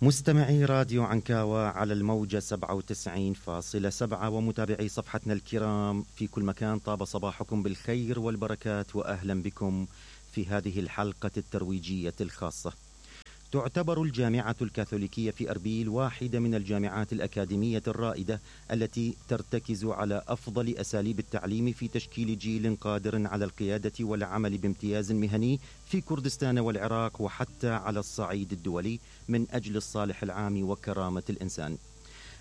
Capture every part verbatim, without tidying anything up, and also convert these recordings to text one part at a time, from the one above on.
مستمعي راديو عنكاوة على الموجة سبعة وتسعين فاصلة سبعة ومتابعي صفحتنا الكرام في كل مكان، طاب صباحكم بالخير والبركات وأهلا بكم في هذه الحلقة الترويجية الخاصة. تعتبر الجامعة الكاثوليكية في أربيل واحدة من الجامعات الأكاديمية الرائدة التي ترتكز على أفضل أساليب التعليم في تشكيل جيل قادر على القيادة والعمل بامتياز مهني في كردستان والعراق وحتى على الصعيد الدولي من أجل الصالح العام وكرامة الإنسان.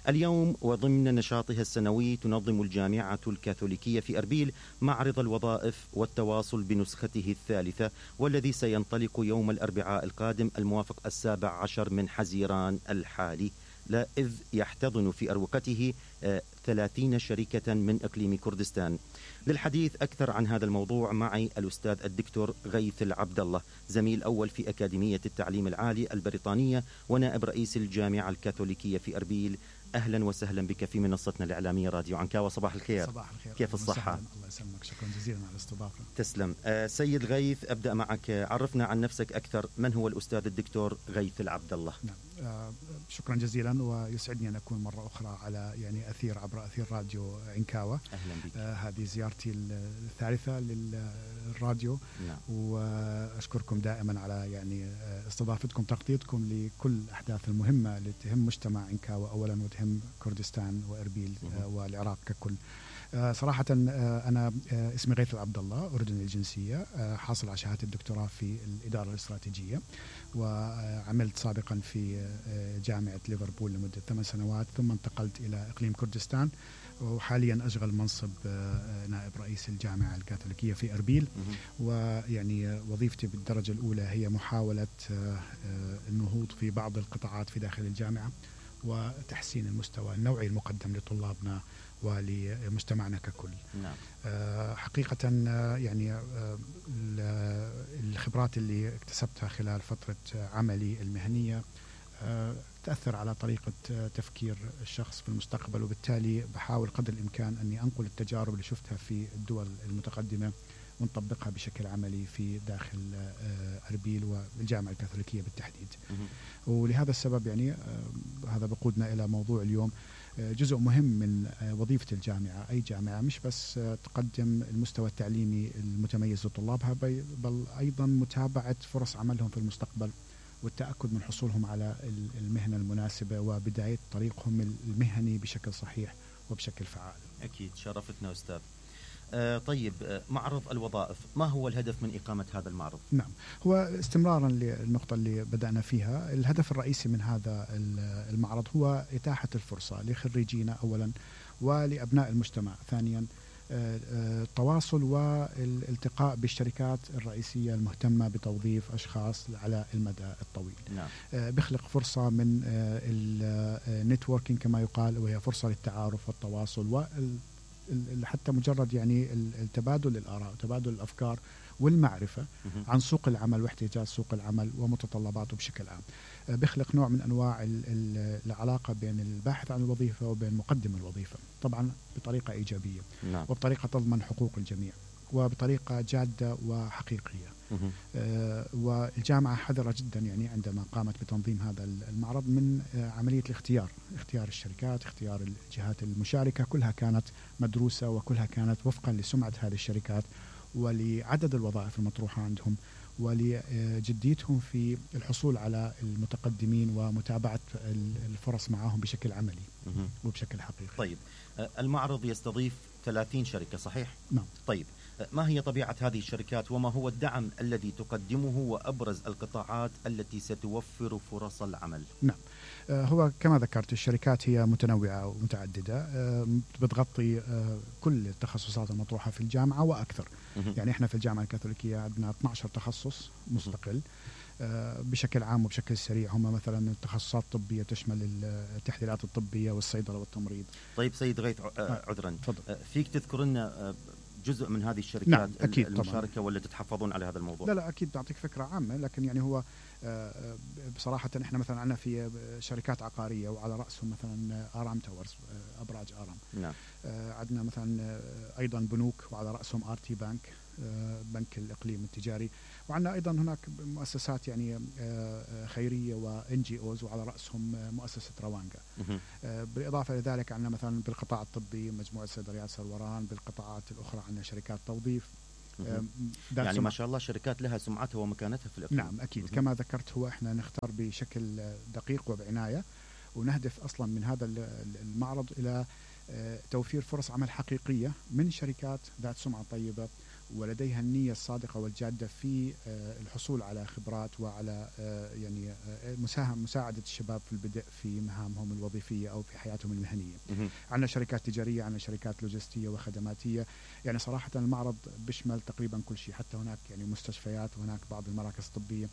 اليوم وضمن نشاطها السنوي تنظم الجامعة الكاثوليكية في أربيل معرض الوظائف والتواصل بنسخته الثالثة، والذي سينطلق يوم الأربعاء القادم الموافق السابع عشر من حزيران الحالي، لا إذ يحتضن في أروقته ثلاثين شركة من إقليم كردستان. للحديث أكثر عن هذا الموضوع معي الأستاذ الدكتور غيث العبد الله، زميل أول في أكاديمية التعليم العالي البريطانية ونائب رئيس الجامعة الكاثوليكية في أربيل. أهلا وسهلا بك في منصتنا الإعلامية راديو عنكاوة. صباح الخير. صباح الخير. كيف الصحة؟ الله يسلمك، شكرا جزيلا على الاستضافة. تسلم. آه سيد غيث، أبدأ معك، عرفنا عن نفسك أكثر. من هو الأستاذ الدكتور غيث العبد الله؟ نعم. آه شكرا جزيلا، ويسعدني أن أكون مرة أخرى على يعني أثير عبر أثير راديو عنكاوة. أهلا بك. آه هذه زيارتي الثالثة للراديو. نعم. وأشكركم دائما على يعني استضافتكم، تغطيتكم لكل الأحداث المهمة اللي تهم مجتمع عنكاوة أولا وتهم كردستان وأربيل آه والعراق ككل. آه صراحة آه أنا آه اسمي غيث العبد الله، أردني الجنسية، آه حاصل على شهادة الدكتوراه في الإدارة الاستراتيجية، وعملت سابقا في آه جامعة ليفربول لمدة ثمان سنوات، ثم انتقلت إلى إقليم كردستان، وحاليا أشغل منصب آه نائب رئيس الجامعة الكاثوليكية في أربيل. ويعني وظيفتي بالدرجة الأولى هي محاولة آه آه النهوض في بعض القطاعات في داخل الجامعة وتحسين المستوى النوعي المقدم لطلابنا ولمجتمعنا ككل. نعم. آه حقيقة آه يعني آه الخبرات اللي اكتسبتها خلال فترة عملي المهنية آه تأثر على طريقة آه تفكير الشخص في المستقبل، وبالتالي بحاول قدر الإمكان أني أنقل التجارب اللي شفتها في الدول المتقدمة ونطبقها بشكل عملي في داخل آه أربيل والجامعة الكاثوليكية بالتحديد. ولهذا السبب يعني آه هذا بقودنا إلى موضوع اليوم. جزء مهم من وظيفة الجامعة، أي جامعة، مش بس تقدم المستوى التعليمي المتميز لطلابها، بل أيضا متابعة فرص عملهم في المستقبل والتأكد من حصولهم على المهنة المناسبة وبداية طريقهم المهني بشكل صحيح وبشكل فعال. أكيد، شرفتنا أستاذ. آه طيب، آه معرض الوظائف، ما هو الهدف من إقامة هذا المعرض؟ نعم، هو استمرارا للنقطة اللي بدأنا فيها، الهدف الرئيسي من هذا المعرض هو إتاحة الفرصة لخريجينا أولا ولأبناء المجتمع ثانيا التواصل والالتقاء بالشركات الرئيسية المهتمة بتوظيف أشخاص على المدى الطويل. نعم. بيخلق فرصة من النتوركينج كما يقال، وهي فرصة للتعارف والتواصل وال حتى مجرد يعني التبادل الآراء وتبادل الأفكار والمعرفة عن سوق العمل واحتياجات سوق العمل ومتطلباته بشكل عام. بيخلق نوع من أنواع العلاقة بين الباحث عن الوظيفة وبين مقدم الوظيفة، طبعا بطريقة إيجابية. نعم. وبطريقة تضمن حقوق الجميع وبطريقة جادة وحقيقية. آه والجامعة حذرة جدا يعني عندما قامت بتنظيم هذا المعرض من آه عملية الاختيار، اختيار الشركات، اختيار الجهات المشاركة، كلها كانت مدروسة وكلها كانت وفقا لسمعة هذه الشركات ولعدد الوظائف المطروحة عندهم ولجديتهم في الحصول على المتقدمين ومتابعة الفرص معهم بشكل عملي وبشكل حقيقي. طيب، المعرض يستضيف ثلاثين شركة صحيح؟ نعم. طيب، ما هي طبيعة هذه الشركات وما هو الدعم الذي تقدمه وأبرز القطاعات التي ستوفر فرص العمل؟ نعم، هو كما ذكرت الشركات هي متنوعة ومتعددة، بتغطي كل التخصصات المطروحة في الجامعة وأكثر. يعني إحنا في الجامعة الكاثوليكية عندنا اثني عشر تخصص مستقل بشكل عام وبشكل سريع. هم مثلا التخصصات الطبية تشمل التحليلات الطبية والصيدلة والتمريض. طيب سيد غيث، عذرا، فضل. فيك تذكر لنا جزء من هذه الشركات؟ نعم، أكيد المشاركة طبعا. ولا تتحفظون على هذا الموضوع؟ لا لا أكيد بعطيك فكرة عامة، لكن يعني هو بصراحة إحنا مثلا عندنا في شركات عقارية وعلى رأسهم مثلا آرام تاورز، أبراج آرام. نعم. عندنا مثلا أيضا بنوك وعلى رأسهم آر تي بانك، بنك الإقليم التجاري. وعندنا أيضا هناك مؤسسات يعني خيرية وإن جي أوز، وعلى رأسهم مؤسسة روانجا. بالإضافة إلى ذلك عندنا مثلا بالقطاع الطبي مجموعة صيدليات سروران، بالقطاعات الأخرى عندنا شركات توظيف. يعني ما شاء الله شركات لها سمعتها ومكانتها في الإقليم. نعم أكيد. م- كما ذكرت، هو إحنا نختار بشكل دقيق وبعناية، ونهدف أصلا من هذا المعرض إلى توفير فرص عمل حقيقية من شركات ذات سمعة طيبة ولديها النية الصادقة والجادة في الحصول على خبرات وعلى يعني مساهم مساعدة الشباب في البدء في مهامهم الوظيفية أو في حياتهم المهنية. عندنا شركات تجارية، عندنا شركات لوجستية وخدماتية. يعني صراحة المعرض بيشمل تقريبا كل شيء، حتى هناك يعني مستشفيات وهناك بعض المراكز الطبية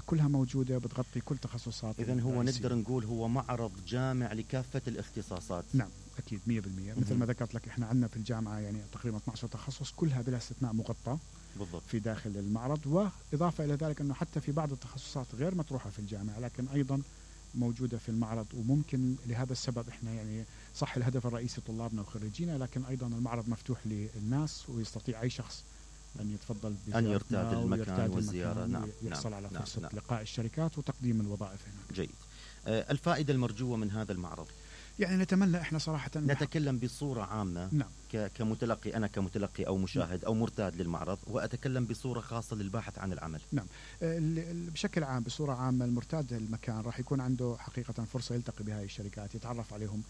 كلها موجودة بتغطي كل تخصصات. إذن هو نقدر نقول هو معرض جامع لكافة الاختصاصات. نعم أكيد مية بالمية. مثل ما ذكرت لك إحنا عندنا في الجامعة يعني تقريبا اثنا عشر تخصص كلها بلا استثناء مغطى بالضبط في داخل المعرض. وإضافة إلى ذلك أنه حتى في بعض التخصصات غير مطروحة في الجامعة لكن أيضا موجودة في المعرض. وممكن لهذا السبب إحنا يعني صح الهدف الرئيسي طلابنا وخريجينا، لكن أيضا المعرض مفتوح للناس ويستطيع أي شخص أن يتفضل أن يرتاد المكان والزيارة. نعم يحصل على نعم فرصة نعم. لقاء الشركات وتقديم الوظائف هناك. جيد. آه الفائدة المرجوة من هذا المعرض؟ يعني نتمنى احنا صراحة نتكلم بصورة عامة. نعم. كمتلقي، أنا كمتلقي أو مشاهد أو مرتاد للمعرض، وأتكلم بصورة خاصة للباحث عن العمل. نعم. بشكل عام بصورة عامة المرتاد المكان راح يكون عنده حقيقة فرصة يلتقي بهذه الشركات، يتعرف عليهم.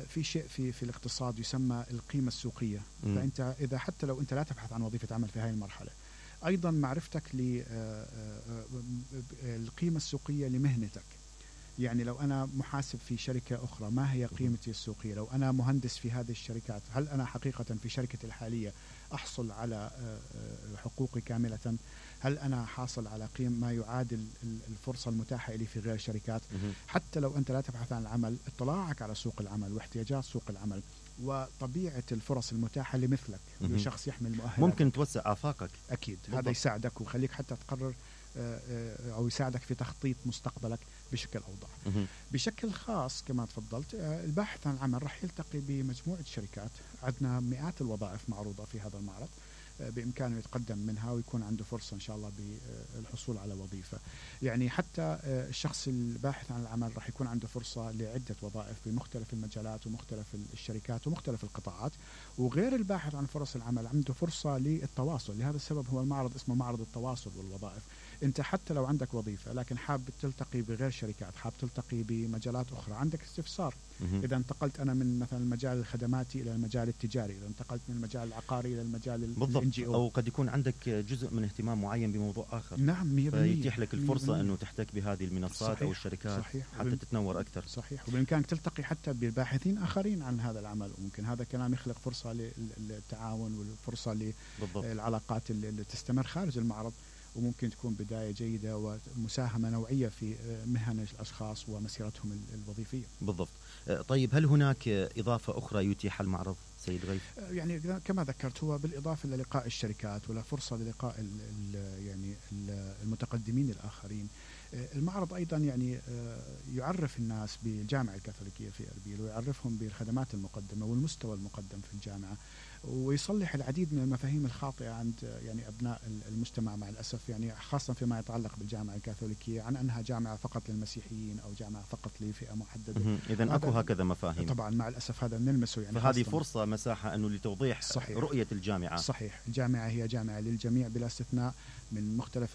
في شيء في في الاقتصاد يسمى القيمة السوقية. م. فأنت إذا حتى لو أنت لا تبحث عن وظيفة عمل في هذه المرحلة، أيضا معرفتك للقيمة السوقية لمهنتك. يعني لو أنا محاسب في شركة أخرى ما هي قيمتي السوقية؟ لو أنا مهندس في هذه الشركات هل أنا حقيقة في شركتي الحالية أحصل على حقوقي كاملة؟ هل أنا حاصل على قيم ما يعادل الفرصة المتاحة لي في غير شركات؟ حتى لو أنت لا تبحث عن العمل، اطلاعك على سوق العمل واحتياجات سوق العمل وطبيعة الفرص المتاحة لمثلك لشخص يحمل مؤهلات ممكن توسع آفاقك. أكيد بالضبط. هذا يساعدك ويخليك حتى تقرر أو يساعدك في تخطيط مستقبلك بشكل أوضح. بشكل خاص كما تفضلت، الباحث عن العمل راح يلتقي بمجموعة شركات. عندنا مئات الوظائف معروضة في هذا المعرض، بإمكانه يتقدم منها ويكون عنده فرصة إن شاء الله بالحصول على وظيفة. يعني حتى الشخص الباحث عن العمل راح يكون عنده فرصة لعدة وظائف بمختلف المجالات ومختلف الشركات ومختلف القطاعات. وغير الباحث عن فرص العمل عنده فرصة للتواصل. لهذا السبب هو المعرض اسمه معرض التواصل والوظائف. انت حتى لو عندك وظيفة لكن حاب تلتقي بغير شركات، حاب تلتقي بمجالات أخرى، عندك استفسار، إذا انتقلت أنا من مثلا المجال الخدماتي إلى المجال التجاري، إذا انتقلت من المجال العقاري إلى المجال الإن جي أو، أو قد يكون عندك جزء من اهتمام معين بموضوع آخر. نعم مية بالمية. فيتيح لك الفرصة أنه تحتك بهذه المنصات صحيح. أو الشركات صحيح. حتى وبم... تتنور أكثر. صحيح. وبإمكانك تلتقي حتى بالباحثين آخرين عن هذا العمل، وممكن هذا الكلام يخلق فرصة للتعاون والفرصة للعلاقات اللي تستمر خارج المعرض، وممكن تكون بداية جيدة ومساهمة نوعية في مهن الأشخاص ومسيرتهم الوظيفية. بالضبط. طيب هل هناك إضافة أخرى يتيح المعرض سيد غيث؟ يعني كما ذكرت هو بالإضافة للقاء الشركات ولا فرصة للقاء ال ال يعني المتقدمين الآخرين. المعرض أيضا يعني يعرف الناس بالجامعة الكاثوليكية في أربيل، ويعرفهم بالخدمات المقدمة والمستوى المقدم في الجامعة، ويصلح العديد من المفاهيم الخاطئة عند يعني أبناء المجتمع مع الأسف، يعني خاصة فيما يتعلق بالجامعة الكاثوليكية عن أنها جامعة فقط للمسيحيين أو جامعة فقط لفئة محددة. إذن أكو هكذا مفاهيم. طبعا مع الأسف هذا نلمسه يعني. فهذه فرصة مساحة أنه لتوضيح صحيح. رؤية الجامعة. صحيح. الجامعة هي جامعة للجميع بلا استثناء، من مختلف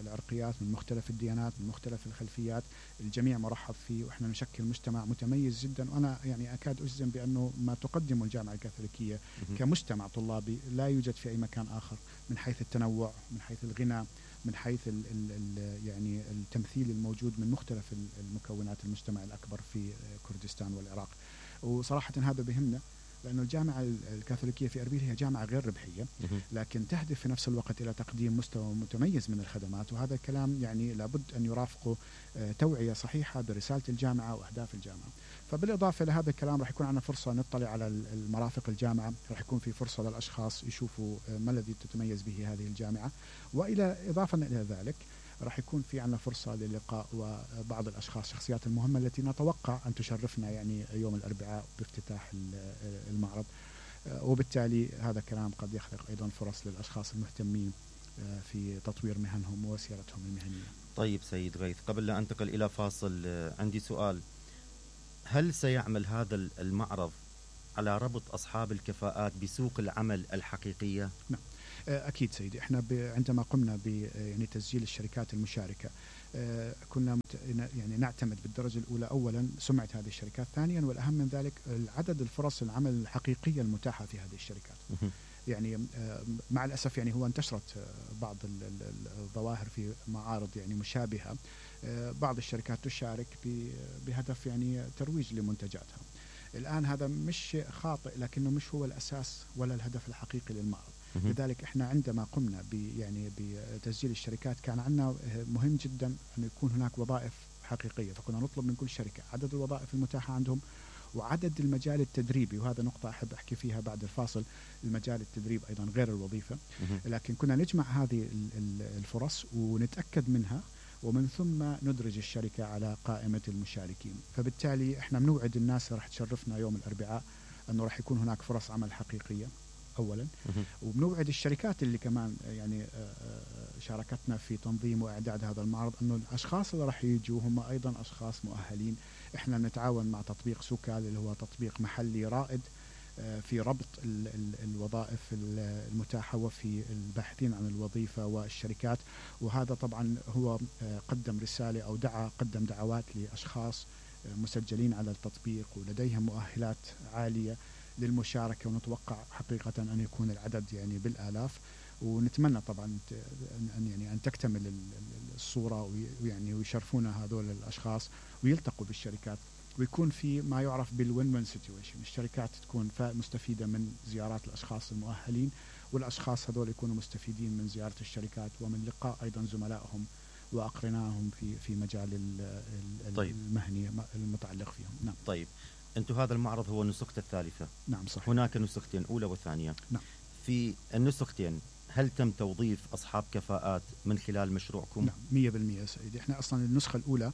العرقيات، من مختلف الديانات، من مختلف الخلفيات، الجميع مرحب فيه، وإحنا نشكل مجتمع متميز جدا. وأنا يعني أكاد أجزم بأنه ما تقدمه الجامعة الكاثوليكية كمجتمع طلابي لا يوجد في أي مكان آخر، من حيث التنوع، من حيث الغنى، من حيث ال ال يعني التمثيل الموجود من مختلف المكونات المجتمع الأكبر في كردستان والعراق. وصراحة هذا بهمنا، لأن الجامعة الكاثوليكية في أربيل هي جامعة غير ربحية، لكن تهدف في نفس الوقت إلى تقديم مستوى متميز من الخدمات، وهذا الكلام يعني لابد أن يرافقه توعية صحيحة برسالة الجامعة وأهداف الجامعة. فبالإضافة لهذا الكلام راح يكون عندنا فرصة نطلع على المرافق الجامعة، راح يكون في فرصة للأشخاص يشوفوا ما الذي تتميز به هذه الجامعة. وإلى إضافة إلى ذلك راح يكون في عنا فرصة للقاء وبعض الأشخاص شخصيات المهمة التي نتوقع أن تشرفنا يعني يوم الأربعاء بافتتاح المعرض. وبالتالي هذا كلام قد يخلق أيضا فرص للأشخاص المهتمين في تطوير مهنهم وسيرتهم المهنية. طيب سيد غيث، قبل لا أنتقل إلى فاصل عندي سؤال: هل سيعمل هذا المعرض على ربط أصحاب الكفاءات بسوق العمل الحقيقية؟ نعم أكيد سيدي. إحنا عندما قمنا ب يعني تسجيل الشركات المشاركة كنا يعني نعتمد بالدرجة الأولى أولا سمعة هذه الشركات، ثانيا والأهم من ذلك عدد الفرص العمل الحقيقية المتاحة في هذه الشركات. يعني مع الأسف يعني هو انتشرت بعض الظواهر في معارض يعني مشابهة، بعض الشركات تشارك بهدف يعني ترويج لمنتجاتها. الآن هذا مش خاطئ، لكنه مش هو الأساس ولا الهدف الحقيقي للمعرض. لذلك احنا عندما قمنا ب يعني بتسجيل الشركات كان عندنا مهم جدا أن يكون هناك وظائف حقيقية، فكنا نطلب من كل شركة عدد الوظائف المتاحة عندهم وعدد المجال التدريبي، وهذا نقطة أحب أحكي فيها بعد الفاصل. المجال التدريب أيضا غير الوظيفة، لكن كنا نجمع هذه الفرص ونتأكد منها، ومن ثم ندرج الشركة على قائمة المشاركين. فبالتالي احنا بنوعد الناس راح تشرفنا يوم الأربعاء أنه راح يكون هناك فرص عمل حقيقية أولا، وبنوعد الشركات اللي كمان يعني شاركتنا في تنظيم وإعداد هذا المعرض أنه الأشخاص اللي راح يجوا هم أيضا أشخاص مؤهلين. احنا نتعاون مع تطبيق سوكال اللي هو تطبيق محلي رائد في ربط ال ال الوظائف المتاحة وفي الباحثين عن الوظيفة والشركات، وهذا طبعا هو قدم رسالة أو دعا قدم دعوات لأشخاص مسجلين على التطبيق ولديهم مؤهلات عالية للمشاركة، ونتوقع حقيقة أن يكون العدد يعني بالآلاف. ونتمنى طبعا أن يعني أن تكتمل الصورة ويعني ويشرفونا هذول الأشخاص ويلتقوا بالشركات، ويكون في ما يعرف بالوين وين سيتويشن. الشركات تكون مستفيدة من زيارات الأشخاص المؤهلين، والأشخاص هذول يكونوا مستفيدين من زيارة الشركات ومن لقاء أيضا زملائهم وأقرنائهم في في مجال طيب. المهني المتعلق فيهم. نعم. طيب أنتم هذا المعرض هو النسخة الثالثة. نعم صحيح. هناك نسختين، أولى وثانية. نعم. في النسختين هل تم توظيف أصحاب كفاءات من خلال مشروعكم؟ نعم مية بالمية سيدي. احنا أصلا النسخة الأولى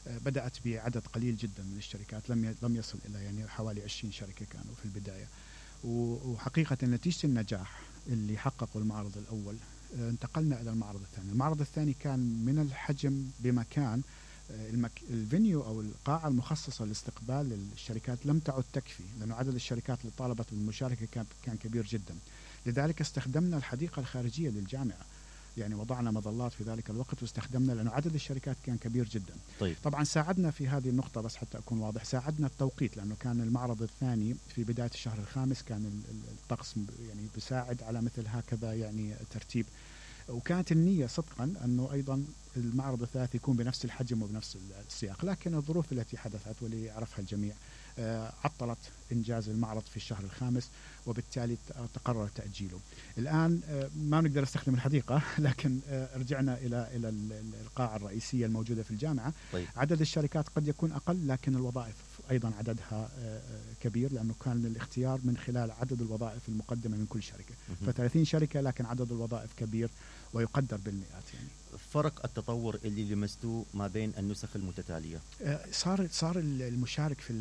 بدأت بعدد قليل جدا من الشركات، لم لم يصل إلى يعني حوالي عشرين شركة كانوا في البداية، وحقيقة نتيجة النجاح اللي حققوا المعرض الأول انتقلنا إلى المعرض الثاني. المعرض الثاني كان من الحجم بمكان المك... الفينيو أو القاعة المخصصة لاستقبال الشركات لم تعد تكفي، لأنه عدد الشركات اللي طالبت بالمشاركة كان كان كبير جدا. لذلك استخدمنا الحديقة الخارجية للجامعة، يعني وضعنا مظلات في ذلك الوقت واستخدمنا، لأنه عدد الشركات كان كبير جدا. طيب. طبعا ساعدنا في هذه النقطة، بس حتى أكون واضح، ساعدنا التوقيت، لأنه كان المعرض الثاني في بداية الشهر الخامس، كان الطقس يعني بيساعد على مثل هكذا يعني ترتيب، وكانت النية صدقا أنه أيضا المعرض الثالث يكون بنفس الحجم وبنفس السياق، لكن الظروف التي حدثت واللي يعرفها الجميع عطلت إنجاز المعرض في الشهر الخامس، وبالتالي تقرر تأجيله. الآن ما نقدر نستخدم الحديقة، لكن رجعنا إلى إلى القاعة الرئيسية الموجودة في الجامعة. طيب. عدد الشركات قد يكون أقل، لكن الوظائف أيضا عددها كبير، لأنه كان الاختيار من خلال عدد الوظائف المقدمة من كل شركة. فثلاثين شركة لكن عدد الوظائف كبير ويقدر بالمئات. يعني فرق التطور اللي لمستوه ما بين النسخ المتتالية؟ صار صار المشارك في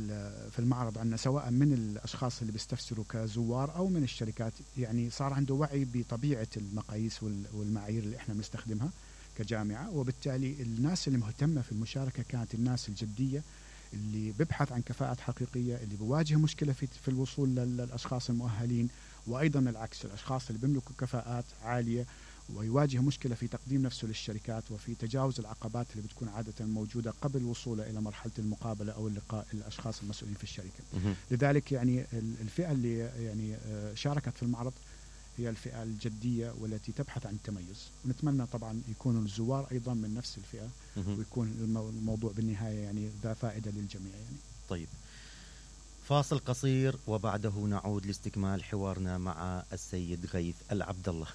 في المعرض عندنا سواء من الاشخاص اللي بيستفسروا كزوار او من الشركات، يعني صار عنده وعي بطبيعة المقاييس والمعايير اللي احنا بنستخدمها كجامعة، وبالتالي الناس اللي مهتمة في المشاركة كانت الناس الجدية اللي ببحث عن كفاءات حقيقية، اللي بواجه مشكلة في في الوصول للاشخاص المؤهلين، وايضا العكس، الاشخاص اللي بيملكوا كفاءات عالية ويواجه مشكلة في تقديم نفسه للشركات وفي تجاوز العقبات اللي بتكون عادة موجودة قبل وصوله إلى مرحلة المقابلة أو اللقاء الأشخاص المسؤولين في الشركة. لذلك يعني الفئة اللي يعني شاركت في المعرض هي الفئة الجدية والتي تبحث عن التميز، ونتمنى طبعا يكونوا الزوار أيضا من نفس الفئة ويكون الموضوع بالنهاية يعني ذا فائدة للجميع. يعني طيب، فاصل قصير وبعده نعود لاستكمال حوارنا مع السيد غيث العبد الله.